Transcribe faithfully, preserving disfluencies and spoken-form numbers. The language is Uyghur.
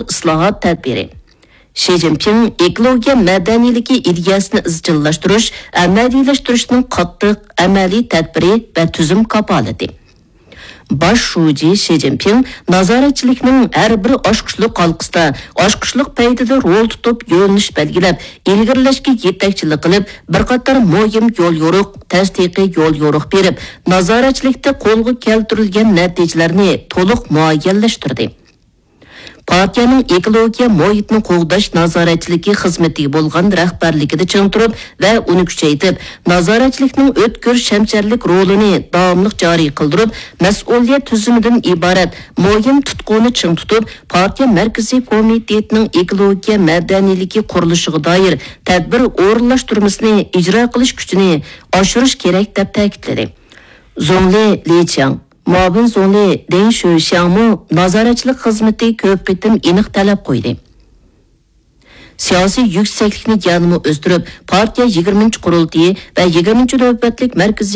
ئىسلاھات تەدبىرى. شى جىنپىڭ ئېكولوگىيە مەدەنىيلىكى ئىدىيەسىنى ئىزچىللاشتۇرۇش، ئەمەلىيلەشتۈرۈشنىڭ قاتتىق ئەمەلىي تەدبىرى ۋە تۈزۈم كاپالىتى. باش شۇجى شى جىنپىڭ نازارەتچىلىكنىڭ ھەر بىر ئاچقۇچلۇق ھالقىسىدا ئاچقۇچلۇق پەيتىدە رول تۇتۇپ، يۆنىلىش بەلگىلەپ، ئىلگىرىلەشكە يېتەكچىلىك قىلىپ، بىر قاتار مۇھىم يول يورۇق، تەستىقىي يول يورۇق بېرىپ، نازارەتچىلىكتە قولغا كەلتۈرۈلگەن نەتىجىلەرنى تولۇق مۇئەييەنلەشتۈردى. پارتىيەنىڭ ئېكولوگىيە مۇھىتنى قوغداش نازارەتچىلىكى خىزمىتىگە بولغان رەھبەرلىكىدە چىڭ تۇرۇپ ۋە ئۇنى كۈچەيتىپ، نازارەتچىلىكنىڭ ئۆتكۈر شەمشەرلىك رولىنى داۋاملىق جارى قىلدۇرۇپ، مەسئۇلىيەت تۈزۈمىدىن ئىبارەت مۇھىم تۇتقۇنى چىڭ تۇتۇپ، پارتىيە مەركىزىي كومىتېتىنىڭ ئېكولوگىيە مەدەنىيلىكى قۇرۇلۇشىغا دائىر تەدبىر ئورۇنلاشتۇرمىسىنى ئىجرا قىلىش كۈچىنى ئاشۇرۇش كېرەك، دەپ تەكىتلىدى. زۇڭلى لى چياڭ، مۇئاۋىن زۇڭلى دېڭ شۆشياڭمۇ نازارەتچىلىك خىزمىتى كۆپ قېتىم ئېنىق تەلەپ قويدى. سىياسىي يۈكسەكلىكنى يەنىمۇ ئۆستۈرۈپ، پارتىيە يىگىرمىنچى قۇرۇلتىيى ۋە يىگىرمىنچى نۆۋەتلىك مەركىزىي